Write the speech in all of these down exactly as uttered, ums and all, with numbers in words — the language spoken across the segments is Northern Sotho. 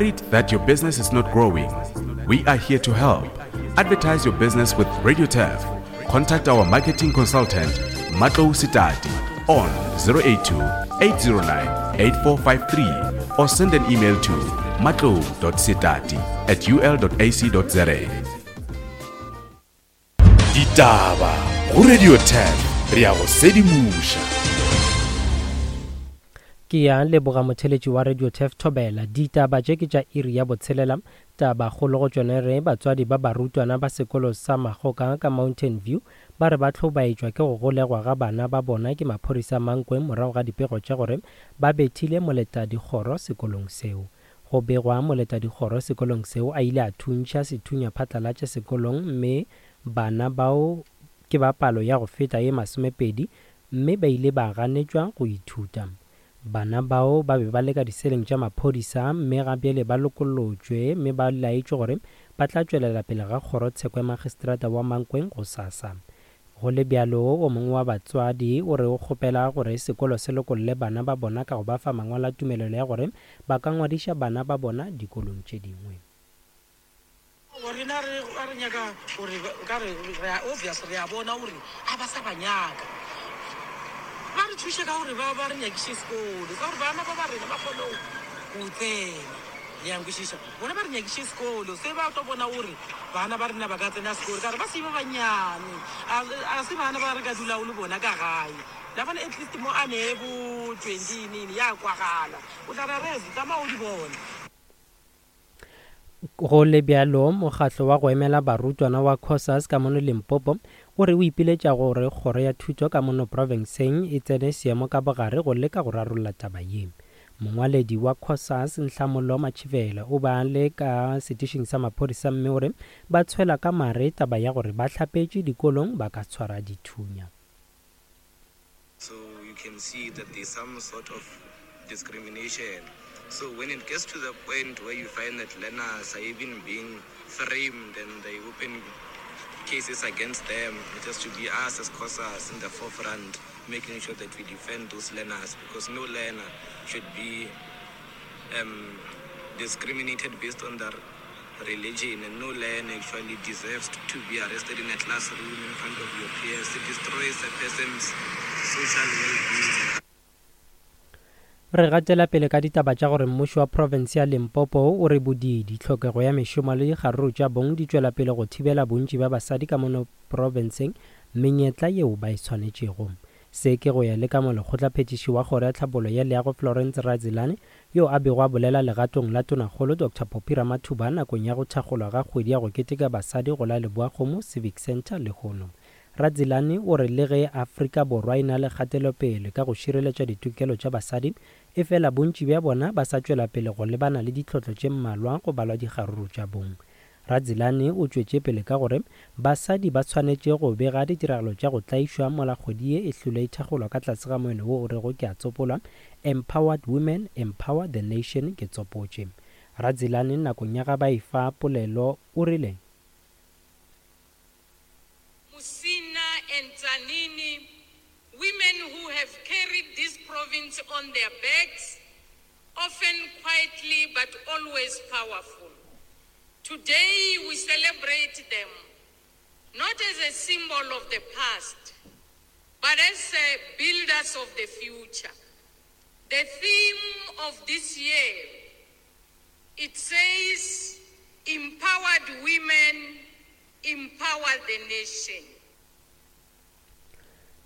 Worried that your business is not growing? We are here to help. Advertise your business with Radio Turf. Contact our marketing consultant, Matlou Sitati, on zero eight two, eight zero nine, eight four five three or send an email to matlou dot sitati at u l dot a c dot z a. Ditaba go Radio Turf, re ya go sedimoša. Ke ya leboga motheletši wa Radio Turf Thobela. Ditaba tše ke tša iri ya botshelela. Taba kgolo go tšone re batswadi ba barutwana ba sekolo sa Magoka ka Mountain View ba re ba hlobaetšwa ke go golegwa ga bana ba bona ke maphodisa Mankweng morago ga dipego tša gore ba bethile moletadikgoro sekolong seo. Go begwa moletadikgoro sekolong seo a ile a thuntšha sethunya phatlalatša sekolong mme bana bao ke ba palo ya go feta ye masomepedi mme ba ile ba ganetšwa go ithuta. Bana bao ba be ba le ka diseleng tša maphodisa mme ga bjale ba lokollotšwe mme ba laetšwe gore ba tla tšwelela pele ga kgorotsheko ya magistrata wa Mankweng go sasa. Go le bjalo, o mongwe wa batswadi o re o kgopela gore sekolo se lokolle bana ba bona ka go ba fa mangwalo a tumelelo ya gore ba ka ngwadiša bana ba bona dikolong tše dingwe. Rena re re nyaka gore ka re re a obvious re a bona gore a ba sa ba nyaka. Ba re thuše ka gore ba ba re nyakiše sekolo, ka gore bana ba ba rena ba kgone go tsena. Le a nkwešiša? Bona ba re nyakiše sekolo, se ba tlo bona gore bana ba rena ba ka tsena sekolo, ka gore ba se ba banyane. A, a se bana ba re ka dulago le bona ka gae. La bona at least mo a ne bo twenty nini ya kwagala. O tla re re tsamaya o di bone. Go le bjalo, mokgatlo wa go emela barutwana wa COSAS ka mono Limpopo o re o ipiletša gore kgoro ya thuto ka mono profenseng e tsene seemo ka bogare go leka go rarolla taba ye. Mongwaledi wa COSAS Nhlamolo Machivela o ba le ka setišing sa maphodisa mme o re ba tshwela ka mare taba ya gore ba hlapetše dikolong ba ka tshwara dithunya. So you can see that there's some sort of discrimination. So when it gets to the point where you find that learners are even being framed and they open cases against them, it has to be us as COSAS in the forefront, making sure that we defend those learners, because no learner should be, um, discriminated based on their religion, and no learner actually deserves to be arrested in a classroom in front of your peers. It destroys a person's social well-being. Re gatela pele ka ditaba tša gore mmušo wa province ya Limpopo o re bodidi, tlhokego ya mešomo le dikgaruru tša bong di tšwela pele go thibela bontši bja basadi ka mono profenseng menyetla yeo ba e swanetšego. Se ke go ya le ka molekgotlaphethiši wa kgoro ya tlhabollo ya leago Florence Radzilani, yo a bego a bolela legatong la tonakgolo Doctor Phophi Ramathuba nakong ya go thakgolwa ga kgwedi ya go keteka basadi go la Leboakgomo Civic Centre lehono. Radzilani o re le ge Afrika Borwa e na le kgatelopele ka go šireletša ditokelo tša basadi, e fela bontši bja bona ba sa tšwela pele go lebana le ditlhotlo tše mmalwa go balwa dikgaruru tša bong. Radzilani o tšwetše pele ka gore basadi ba tshwanetše go bega ditiragalo tša go tlaišwa mola kgwedi ye e hlwele e thakgolwa ka tlase ga moeno wo o rego ke a tsopolwa, Empowered Women, Empower the Nation, ke tsopotše. Radzilani nakong ya ga ba e fa polelo o rile, Musina and Tzaneen, women who have carried this province on their backs, often quietly but always powerful. Today we celebrate them, not as a symbol of the past, but as builders of the future. The theme of this year, it says, empowered women, empower the nation.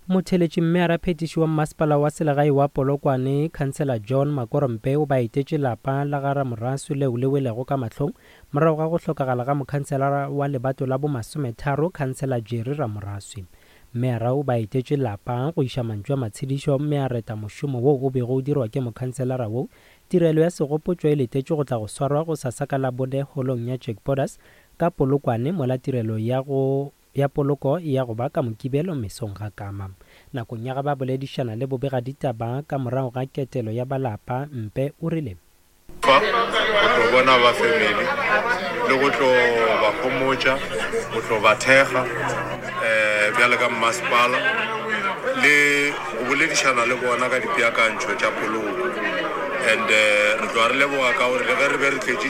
Motheletši mme a raphetiši wa mmasepala wa selegae wa Polokwane, Councillor John Makorompe, o ba etetše lapa la ga Ramoraswi leo le welego ka mahlong morago ga go hlokagala ga mokhanselara wa lebato la bomasometharo, Councillor Jerry Ramoraswi. Mmeara o ba etetše lapa go iša mantšu a matshedišo mme a reta mošomo wo o bego o dirwa ke mokhanselara wo. Tirelo ya segopotšo e letetšwe go tla go swarwa go sasa ka Labone holong ya Jack Borders ka Polokwane, mola tirelo ya go ya poloko ya go ba ka Mokibelo mesong ga kama. Nakong ya ga ba boledišana le bobega ditaba ka morago ga ketelo ya balapa, Mpe o rile, Fa go tlo bona ba family le go tlo ba homotša, go tlo ba thekga, eh, bjale ka mmasepala le go boledišana le bona ka dipeakantšho tša poloko. And eh, re tloga re leboga ka gore le ge re be re tletše